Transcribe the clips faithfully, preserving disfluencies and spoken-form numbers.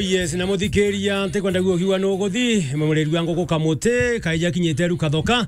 Yes, na muthikiria, ntikwenda gukiuga nuguthi, mureri wa nguku Kamuti, kaija kinyite riu Kathoka.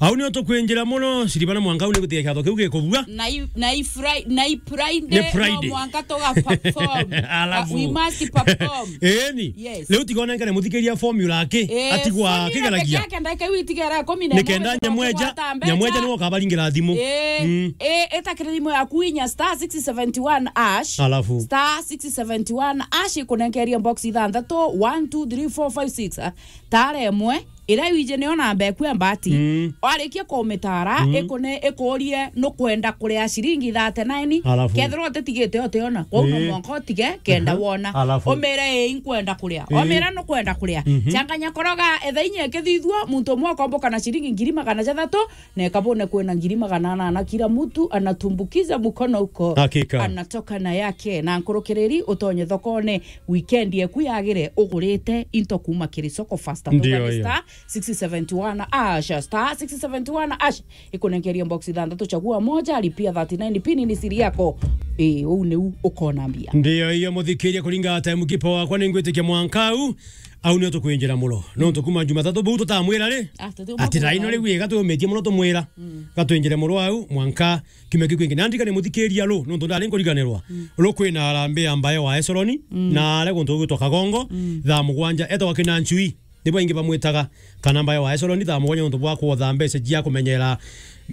Au nio tukwinjira muno, ciribana mwanka au ni gutiga kiatho kiu gikubua. Na i-, na i Fri-, na i Friday, Ni Friday. No mwanka tuga perform. Alafu. Uh, we must perform. Eni. Yes. Riu tiga onenkane muthikiria formula aki, Eh, atigwa formula akigeragia. Peke yake ndeke witigera ikumi na imwe Nikenda nyamweja, tugwata mbeca. Nyamweja niwe ukabaringira thimu. Eh, Mm. eh, etakira thimu yaku inya star six seventy one hash. Alafu. Star six seventy one hash ikunenkeria box ithanthatu, one, two, three, four, five, six, ah. Tara imwe, ira wije niyo namba eku ya mbati. Mm. Warikia kumitara, Mm. ikune-, ikurie nukwenda kuria ciringi thirty nine. Alafu. Kethirwa utitigite utiona. Kwou no Eh. mwanka utige, kenda Aha. wona. Alafu. Umire, "Ii, nkwenda kuria." Eh. Umira nukwenda kuria. Mhm. Changanya koroga, etha inya ikithithua, muntu umwe ukomboka na ciringi ngiri magana jathatu, na ikabone kwina ngiri magana anana kila mtu anatumbukiza mkono huko. Hakika. Anatoka na yake. Na nkurukiriri utonye thokone weekend eku yagire ugurite into kuma kiri soko fasta. Ndio Tugane hiyo. Star six seventy one hash, star six seventy one hash. Ikunenkeria box ithanthatu, chagua moja, lipia thirty nine pin ni siri yako. Eh, uu niu ukona mbia. Ndio hiyo, muthikiria, kuringa time kipo wakwa, ningwitikia mwanka au, au nio tukwinjira muno. Nontu kuma Jumatatu buu tutamwira ri? Ah, tutiuma Ati kuuma raino au. Riu iga tumitie muno tumwira. Mm. Gatwinjire muno au, mwanka kiumia kiu kingi. Na ndikane muthikiria ru, nontu ndari nkuriganirwa. Mm. Ru kwina harambee ya mbae wa Esroni, Mm. na are guntu gwitwa Kagongo, Mm. thaa mugwanja, etagwa Kinanchui. Nibo aingi bamwitaga, kana mbae wa Esroni, thaa mugwanja nontu bwa kwotha mbeca cia kumenyera,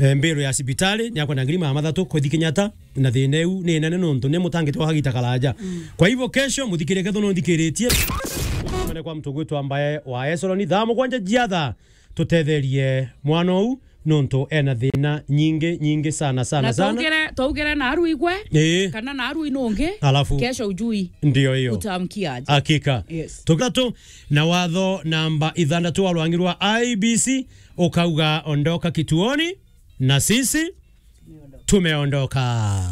eh, mbiru ya cibitari, ni akwenda ngiri magana mathatu kwithi Kenyatta, na thina iu ni nene nontu ni mutangite wa kagita karaja. Mm. Kwa hivyo kesho, muthikirie ketho nonthikiritie. Mane kwa mtu gwitwa mbae wa Esroni, thaa mugwanja jia thaa, tutetherie mwana uu, nontu ena thina nyingi, nyingi sana, sana, Na sana. Twaugire, twaugire na aru igwe, Ii. kana na aru inungi, Alafu. kesho ujui Ndio hiyo. utamkia aje. Hakika. Yes. Tukatu na watho namba ithanthatu wa rwangi rwa I B C, ukauga, "Ondoka kituoni," na sisi tumeondoka.